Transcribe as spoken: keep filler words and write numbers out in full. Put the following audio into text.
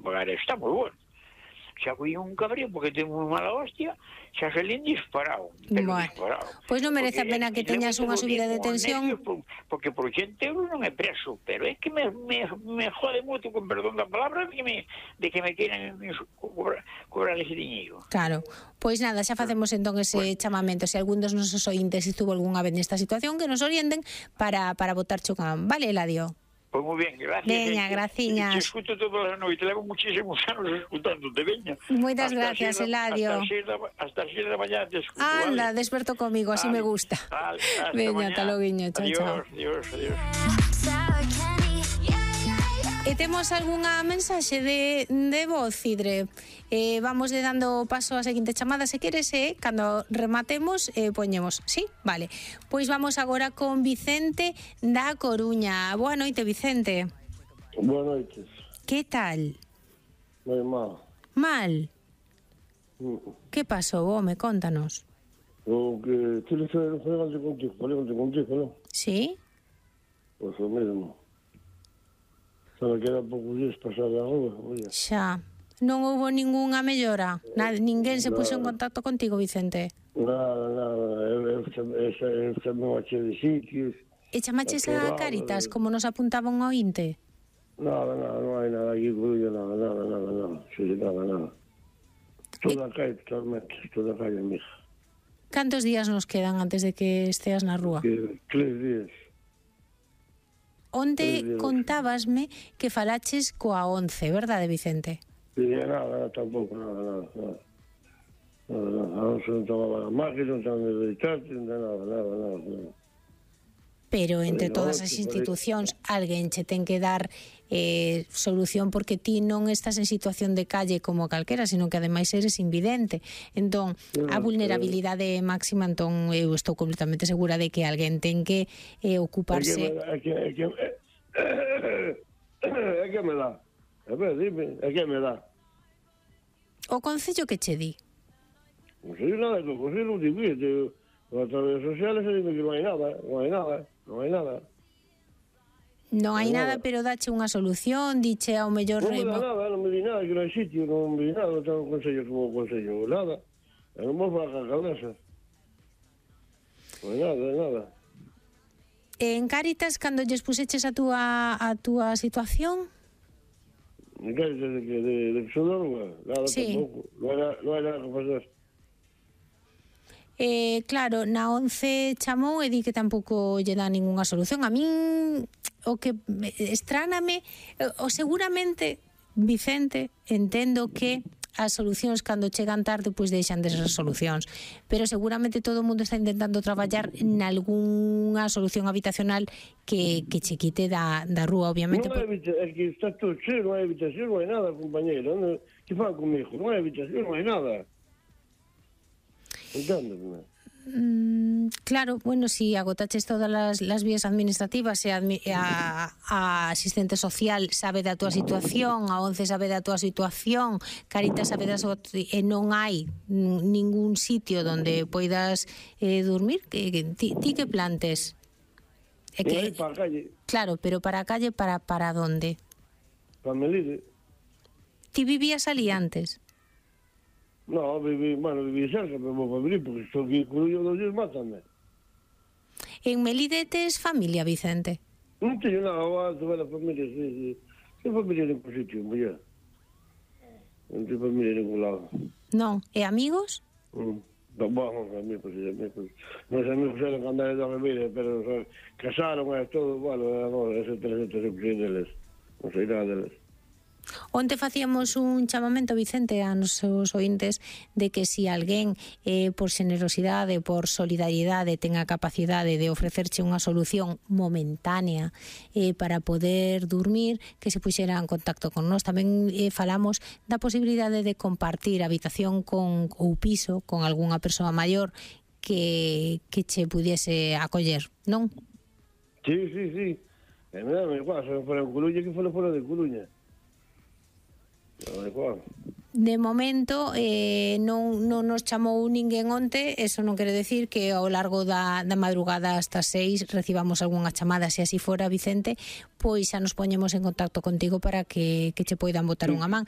pagar, está moi bueno. Xa foi un cabreo porque ten moi mala hostia, xa se len disparado, Bueno, disparado. pois non merece a Porque pena que é- teñas unha levante subida de con tensión. nervios, por- Porque por ochenta euros non é preso, pero é que me, me, me jode moito, con perdón da palabra, de que me, de que me queiran cobrar, cobrar ese diñeiro. Claro, pois nada, xa facemos entón ese Bueno. chamamento. Se algún dos nosos ointes estuvo algunha vez nesta situación, que nos orienten para, para botar chocán. Vale, Eladio? Pois moi ben, gracias. Veña, eh, graciñas. Te escuto todas as noites, levo muchísimos anos escutándote, veña. Moitas Hasta gracias, as seis da- Eladio. Hasta as seis da, hasta as seis da mañá te escuto, Anda, vale? desperto comigo, así me Vale, gusta. vale, hasta Veña, mañá. ata loguiño, chao, Adiós, chao. adiós, adiós. E temos algunha mensaxe de, de voz, Cidre. Eh, vamos de dando paso á seguinte chamada, se queres, eh, cando rematemos, eh, poñemos. Sí? Vale. Pois vamos agora con Vicente da Coruña. Boa noite, Vicente. Boas noites. Que tal? Moi mal. Mal? Mm. Que pasou, home? Contanos. O que tienes que falei antes contigo, falei antes contigo, non? Sí? Pois o mesmo. Sabe que era poucos días pasar a rúa, oye. Xa. Non houbo ningunha mellora? Nada, ninguén se puxo en contacto contigo, Vicente? Nada, nada, eu, eu, eu, eu chamei a che de sitios. E chamaches a Acordado, Cáritas, eh. como nos apuntaban ao inte? Nada, nada, non hai nada aquí, Coruña, nada, nada, nada, nada, sí, nada, nada. Toda a calle, totalmente, toda a calle, mija. Cantos días nos quedan antes de que esteas na rúa? Que, tres días. Onte Tres días. contábasme que falaches coa once, verdade, Vicente? Sí, nada, nada, tampouco, nada, nada, nada. Nada, nada, a once non tomaba a máquina, non tomaba de deitarte, nada, nada, nada, nada. Pero entre Pois, todas no, as que institucións alguén che ten que dar eh, solución, porque ti non estás en situación de calle como calquera, sino que ademais eres invidente. Entón, a No, vulnerabilidade máxima, entón eu estou completamente segura de que alguén ten que eh, ocuparse. É que, é que, é que, é que me dá. A ver, dime, é que me dá. O concello que che di? Non sei nada, que o consello non divide. As redes sociales se dime que non hai nada, non hai nada, non hai nada. Non hai Nada. nada, pero dache unha solución, diche ao mellor Non me dá remo. nada, non me di nada, que non hai sitio, non me di nada, non tengo consello como consello, nada. E non vou falar a cabeza. Non hai nada, nada. En Cáritas, cando lles puseches a túa, a túa situación, Me caes de que de, de que son da rúa, nada Sí. tampouco. Non hai nada, non hai nada que facer. eh, claro, na once chamou e di que tampouco lle dá ningunha solución. A min o que me- estráname, eh, o seguramente, Vicente, entendo que as solucións cando chegan tarde pois deixan de ser solucións, pero seguramente todo o mundo está intentando traballar nalgúnha solución habitacional que, que che quite da, da rúa, obviamente. Non hai por- habitación, é que está todo cheo, non hai habitación, non hai nada, compañero. Non, que fan comigo? Non hai habitación, non hai nada. Enténdeme. Mm, claro, bueno, si agotaches todas las, las vías administrativas e a, admi- a, a asistente social sabe da túa situación, a once sabe da túa situación, Caritas sabe da súa, e non hai mm, ningún sitio donde poidas eh, dormir, que, que, ti, ti que plantes? É Non hai que, para a calle, claro, pero para a calle, para, para donde? para Melide. Ti vivías ali antes? No, viví, bueno, viví cerca, pero vou para abrir, porque estou aquí en Coruña dos días, mátame. En Melide tes familia, Vicente? Non teño nada, vou tuve a familia, sí, sí. Ten familia en ningún sitio, muller. Non ten familia en ningún lado. Non. E amigos? Mm. No, bueno, amigos, sí, amigos. Meus amigos eran candares da Ribeira, pero o sea, casaron e todo, bueno, agora, ese trescentos e pico deles. Non sei nada deles. Onte facíamos un chamamento, Vicente, a nosos ointes de que si alguén eh, por xenerosidade, por solidariedade ten a capacidade de ofrecerche unha solución momentánea eh, para poder dormir, que se puxera en contacto con nós. Tamén eh, falamos da posibilidade de compartir habitación con ou piso con algunha persoa maior que, que che pudiese acoller, non? Sí, sí, sí. E me dame igual, se non fora en Coruña, que fora fora de Coruña. No, igual. De momento eh, non, non nos chamou ninguén onte, eso non quere decir que ao largo da, da madrugada hasta seis recibamos algunha chamada. Se así fora, Vicente, pois xa nos poñemos en contacto contigo para que, que che poidan botar unha man.